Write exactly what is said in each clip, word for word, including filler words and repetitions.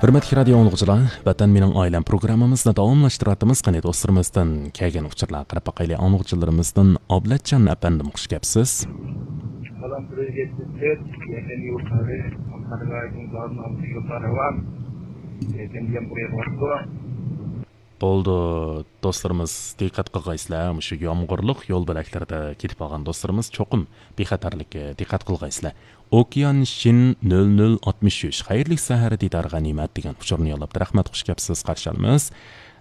ھۆرمەتلىك رادىيو ئاڭلىغۇچىلار، ۋەتەن مېنىڭ ئائىلەم پروگراممىمىزنى داۋاملاشتۇرۇۋاتىمىز. قېنى دوستلىرىمىزدىن كەلگەن ئۇچۇرلارغا قاراپ باقايلى. ئاڭلىغۇچىلىرىمىزدىن ئابلەتجان ئەپەندىم، خۇش كەپسىز. سالام سىلەرگە، يەكەن يۇرتلىرى، قارىغايدىن دارىن ئالدى يۇرتلار ھاۋا. يەكەن دېگەن بۇرىيا بارىدۇ. بولدى، دوستلىرىمىز دىققەت قىلغايسىلەر، مۇشۇ يامغۇرلۇق يول بۆلەكلىرىدە كېتىپ قالغان دوستلىرىمىز چوقۇم بىخەتەرلىككە دىققەت قىلغايسىلەر. ئوكيان شىن نۆل نۆل ئاتمىش ئۈچ، خەيرلىك سەھەر دىدار غەنىيمەت دېگەن ئۇچۇرنى يوللاپتۇ. رەھمەت، خۇش كەپسىز، قارشى ئالىمىز.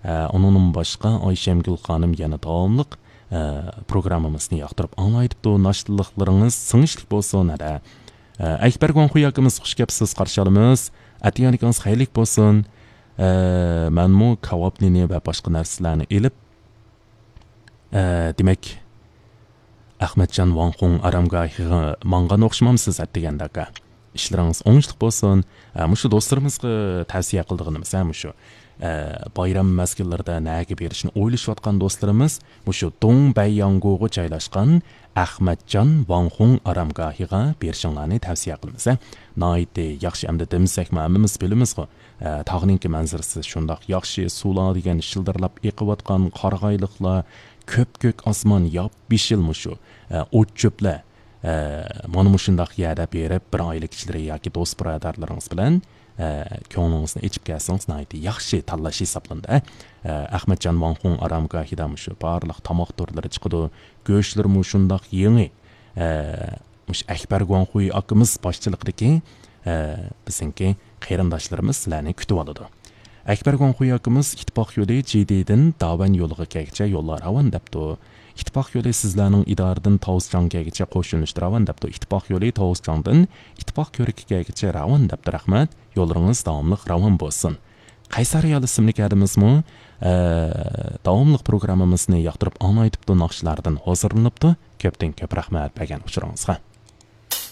ئە، ئۇنىڭدىن باشقا ئايشەمگۈل خانىم يەنە داۋاملىق، ئە، پروگراممىمىزنى ياقتۇرۇپ ئاڭلايدىپتۇ. ناشتىلىقلىرىڭىز سىڭىشلىك بولسۇن، ھەدە. ئە، ئەكبەر گۇاڭخۇي ئاكىمىز، خۇش كەپسىز، قارشى ئالىمىز. ئەتىگەنلىكىڭىز خەيرلىك بولسۇن. ئە، مەنمۇ كاۋاپ نېنى ۋە باشقا نەرسىلەرنى ئېلىپ، ئە، دېمەك، ئەخمەتجان ۋاڭخۇڭ ئارامگاھىغا ماڭغان ئوخشىمامسىز ئەتىگەندە ئاكا؟ ئىشلىرىڭىز ئوڭۇشلۇق بولسۇن. ئە، مۇشۇ دوستلىرىمىزغا تەۋسىيە قىلىدىغىنىمىز، ھە، مۇشۇ، ئە، بايرام مەزگىللىرىدە نەگە بېرىشنى ئويلىشىۋاتقان دوستلىرىمىز مۇشۇ دۇڭبەيياڭگوغا جايلاشقان ئەخمەتجان ۋاڭخۇڭ ئارامگاھىغا بېرىشىڭلارنى تەۋسىيە قىلىمىز، ھە. ناھايىتى ياخشى، ئەمدى دېمىسەكمۇ ھەممىمىز بىلىمىزغۇ. ئە، تاغنىڭكى مەنزىرىسى شۇنداق ياخشى، سۇلار دېگەن شىلدىرلاپ ئېقىۋاتقان، قارىغايلىقلار، كۆپكۆك ئاسمان ياپيېشىل مۇشۇ. ئە، ئوت-چۆپلەر. ئە، مانا مۇشۇنداق يەردە بېرىپ، بىر ئائىلە كىشىلىرى ياكى دوست-بۇرادەرلىرىڭىز بىلەن، ئە، كۆڭلىڭىزنى ئېچىپ كەلسىڭىز، ناھايىتى ياخشى تاللاش ھېسابلىنىدۇ. ئە، ئەخمەتجان ۋاڭخۇڭ ئارامگاھىدا مۇشۇ بارلىق تاماق تۈرلىرى چىقىدۇ. گۆشلىرىمۇ شۇنداق يېڭى. ئە، مۇشۇ ئەكبەر گۇاڭخۇي ئاكىمىز باشچىلىقىدىكى، ئە، بىزنىڭكى قېرىنداشلىرىمىز سىلەرنى كۈتۈۋالىدۇ. ئەكبەر گۇاڭخۇي ئاكىمىز ئىتتىپاق يولى جىدىدىن داۋەن يولىغا كەلگۈچە يوللار راۋان دەپتۇ. ئىتتىپاق يولى سىزلەرنىڭ ئىدارىدىن تاۋۇزچاڭ كەلگۈچە قوشۇلۇشتا راۋان دەپتۇ. ئىتتىپاق يولى تاۋۇزچاڭدىن ئىتتىپاق كۆرۈكى كەلگۈچە راۋان دەپتۇ. رەھمەت. يوللىرىڭىز داۋاملىق راۋان بولسۇن. قەيسەر رېئال ئىسىملىك ھەدىمىزمۇ، ئە، داۋاملىق پروگراممىمىزنى ياقتۇرۇپ ئاڭلايتىپتۇ، ناخشىلاردىن ھازىرلىنىپتۇ. كۆپتىن كۆپ رەھمەت بەرگەن ئۇچۇرىڭىزغا.